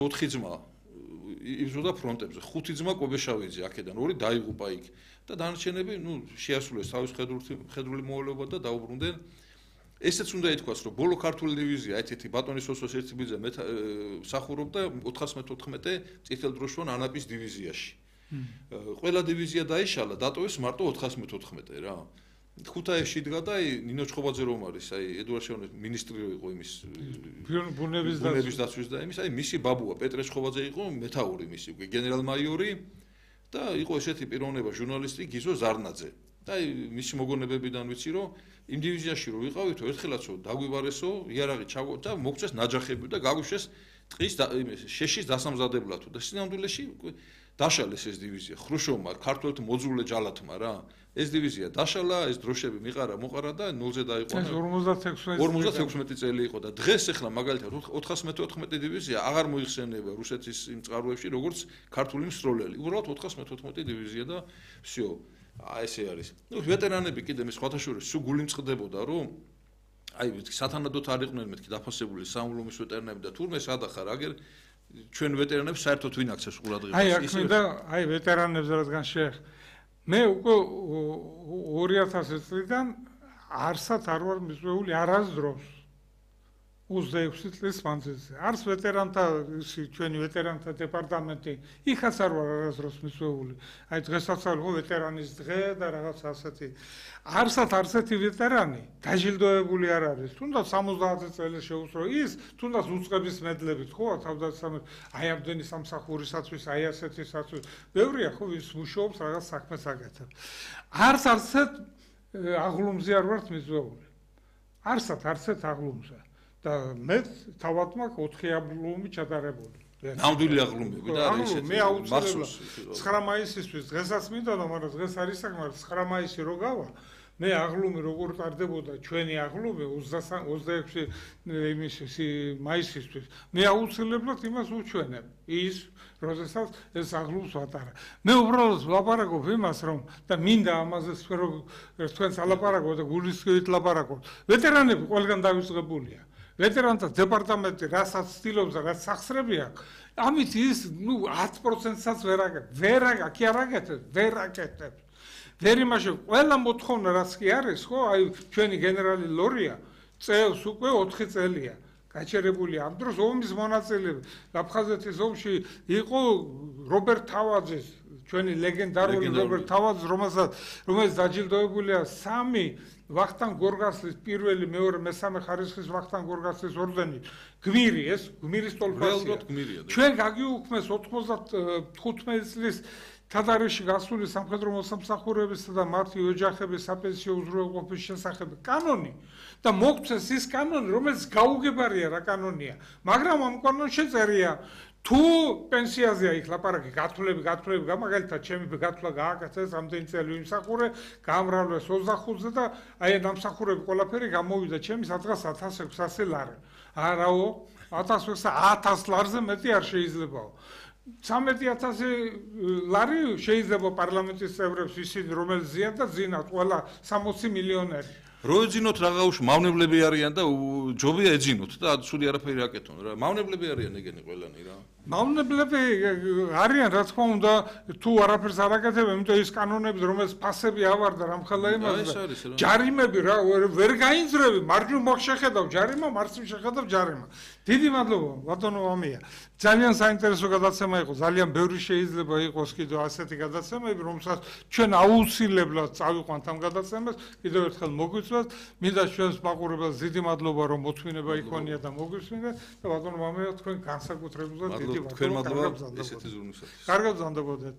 4 ძმა იბრძოდა ფრონტებზე, 5 ძმა კვებეშავიძე აქედან, 2 დაიღუპა იქ და დანარჩენები, შეასრულეს თავის ხედრული მოვალეობა და დაუბრუნდნენ. ესეც უნდა ითქვას, რომ ბოლო ქართული დივიზია, ერთ-ერთი ბატონის ოსოს ერთიბიძე მსახურობდა 414 წითელდროშოვან ანაპის დივიზიაში. ყველა დივიზია დაიშალა, დატოვეს მარტო 414 რა. ქუთაისში იდგა და ნინო ჩხობაძე რომ არის, ედუარდ შევონის მინისტრი იყო იმის ბუნების დაცვის და იმის, მისი ბაბუა პეტრე ჩხობაძე იყო მეთაური მისი, გენერალ-მაიორი და იყო ესეთი პიროვნება ჟურნალისტი გიზო ზარნაძე. და მისი მოგონებებიდან ვიცი რომ იმ დივიზიაში რომ ვიყავითო ერთხელაცო დაგვიბარესო იარაღი ჩაგო და მოგწეს ნაჯახები და გაგვიშვეს ტყის შეშის დასამზადებლად და სინამდვილეში დაშალეს ეს დივიზია ხრუშოვმა ქართველთა მოძულე ჯალათმა რა ეს დივიზია დაშალა ეს დროშები მოყარა და 0-ზე დაიყვანა 56 წელი იყო და დღეს ახლა მაგალითად 414 დივიზია აღარ მოიხსენიება რუსეთის იმ წყაროებში როგორც ქართული მსროლელი უბრალოდ 414 დივიზია და всё ესე არის. ვეტერანები კიდე მე სხვათა შორის სულ გული მწყდებოდა რომ სათანადოდ არ იყვნენ მეთქი დაფასებული სამულომის ვეტერანები და თურმე სადახარ აგერ ჩვენ ვეტერანებს საერთოდ ვინ აქცევს ყურადღებას ის ვეტერანებს რადგან მე უკვე 2000 წლიდან არსად არ ვარ მიწვეული არასდროს 26 წლის მანძილზე. არც ვეტერანთა ჩვენი ვეტერანთა დეპარტამენტი იქაც არ ვარ არასდროს მიწვეული. დღესაც არის ვეტერანის დღე და რაღაც ასეთი. არსად არსეთი ვეტერანი დაჯილდოებული არ არის. თუნდაც 70 წელი შეუსწრო ის, თუნდაც უწყების მედლებით, ხო, თავდაცემად ამდენი სამსახურისათვის, ასეთისათვის. ბევრია ხო ის მუშაობს რაღაც საქმეს აკეთებს. არსად აღლუმზე არ ვარ მიწვეული. არსად აღლუმზე. და მე თავად მაქვს 4 აღლუმი ჩატარებული. ნამდვილი აღლუმები და არის ესეთი. მე აუცილებლად 9 მაისისთვის დღესაც მინდოდა, მაგრამ დღეს არის საკმარისი 9 მაისი რო გავა. მე აღლუმი როგორ ტარდებოდა ჩვენი აღლუმი 26 მაისისთვის. მე აუცილებლად იმას უჩვენებ. ის როდესაც ეს აღლუმს ვატარა. მე უბრალოდ ვლაპარაკობ იმას რომ და მინდა ამაზე თქვენს ალაპარაკობ და გულისხმით ლაპარაკობ. ვეტერანები ყველგან დავიწყებულია. ვეტერანთა დეპარტამენტი რასაც ცდილობს და რაც სახსრები აქვს, ამით ის 10%-საც ვერ აკეთებს. ვერ იმაში ყველა მოთხოვნა რაც კი არის, ხო, ჩვენი გენერალი ლორია წელს უკვე 4 წელია. გაჩერებულია ამ დროს ომის მონაწილეები. აფხაზეთის ომში იყო რობერტ თავაძის, ჩვენი ლეგენდარული რობერტ თავაძის, რომელიც დაჯილდოებულია 3 ვახტანგ გორგასლის პირველი, მეორე, მესამე ხარისხის ვახტანგ გორგასლის ორდენით. გმირი ეს, გმირის ტოლფასია. ჩვენ გაგიუქმეს 95 წლის თადარიში გასული სამხედრო მოსამსახურებისა და მათი ოჯახების საპენსიო უზრუნველყოფის შესახებ კანონი და მოგწეს ის კანონი, რომელიც გაუგებარია რა კანონია, მაგრამ ამ კანონში წერია თუ პენსიაზეა იქ ლაპარაკი გათვლები, მაგალითად ჩემი გათვლა გააკეთეს ამდენი წელი ვიმსახურე, გამრავლეს 25-ზე და ამ სამსახურები ყველაფერი გამოვიდა ჩემი სადღაც 1600 ლარი. არაო, 1000 ლარზე მეტი არ შეიძლებაო. 13,000 ლარი შეიძლება პარლამენტის წევრებს ისინი რომელიც ზიან და ზინათ ყველა 60 მილიონერი. რო ეძინოთ რაღაც მავნებლები არიან და ჯობია ეძინოთ და სული არაფერი აკეთონ რა. მავნებლები არიან ეგენი ყველანი რა. მავნებლები არიან რა თქმა უნდა თუ არაფერს არ აკეთებენ, იმიტომ ის კანონები რომელიც ფასები ავარდა რამხელა იმაზე. ჯარიმები რა ვერ გაინძრები, მარჯვნივ მოხშეხედავ ჯარიმა, მარცხნივ შეხედავ ჯარიმა. დიდი მადლობა ბატონო ამია. ძალიან საინტერესო გადაცემა იყო, ძალიან ბევრი შეიძლება იყოს კიდევ ასეთი გადაცემები, რომელსაც ჩვენ აუცილებლად წავიყვანთ ამ გადაცემას. კიდევ ერთხელ მოგვიწევთ, მინდა ჩვენს მაყურებელს დიდი მადლობა რომ მოთმინება იქონია და მოგვისმინეთ და ბატონო ამია თქვენ განსაკუთრებულად დიდი მადლობა. თქვენ მადლობა ესეთი ზრუნვისათვის. კარგად გზანდებოდეთ.